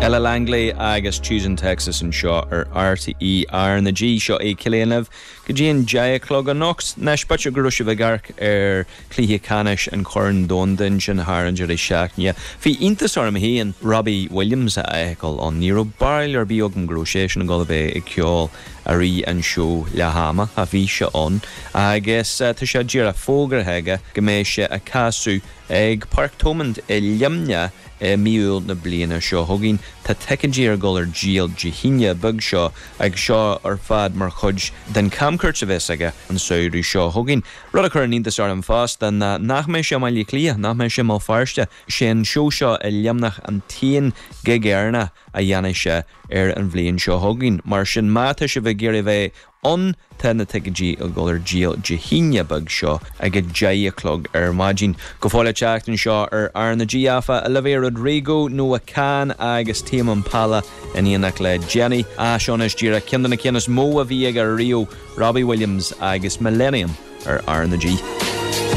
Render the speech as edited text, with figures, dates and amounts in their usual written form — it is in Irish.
Ella Langley agus Tucson Texas anseo ar RTÉ R na G. Seo é Cill Éan libh go dtí an 10 a chlog anocht. Anois, b'fhéidir go raibh sibh ag amharc ar chluiche ceannais an Chorn Domhanda ansin thar an deireadh seachtaine. Bhí iontas orm féin Robbie Williams a fheiceáil ann. Ní raibh barúil ar bith agam go raibh seisean ag dul a bheith ag ceol i rith an seó leath ama. Ach bhí sé ann agus tá sé díreach fógartha aige go mbeidh sé ag casadh ag Páirc Thomond i Luimneach i mí Iúil na bliana seo chugainn. Tá ticéidí ar dhul ar díol Dé hAoine beag seo agus seo ar fad mar chuid den chamchuairt a bheas aige an samhradh seo chugainn. Rud a chuireann iontas orm fosta ná nach mbeidh sé i mBaile Átha Cliath, nach mbeidh sé i mBéal Feirste. Sé an seó seo i Luimneach an t-aon ghig Éireannach a dhéanfaidh sé ar an bhliain seo chugainn. Mar sin, má tá sibh ag iarraidh a bheith ann, tá na ticéidí ag dul ar díol Dé hAoine beag seo ag a 10 a chlog ar maidin. Go fóill le teacht anseo ar R na G, áfach, Olivia Rodrigo, Noah Kahan agus Tame Impala in éineacht le Jennie. Ah, seo anois díreach ceann de na cinn is mó a bhí aige riamh, Robbie Williams agus Millennium ar R na G.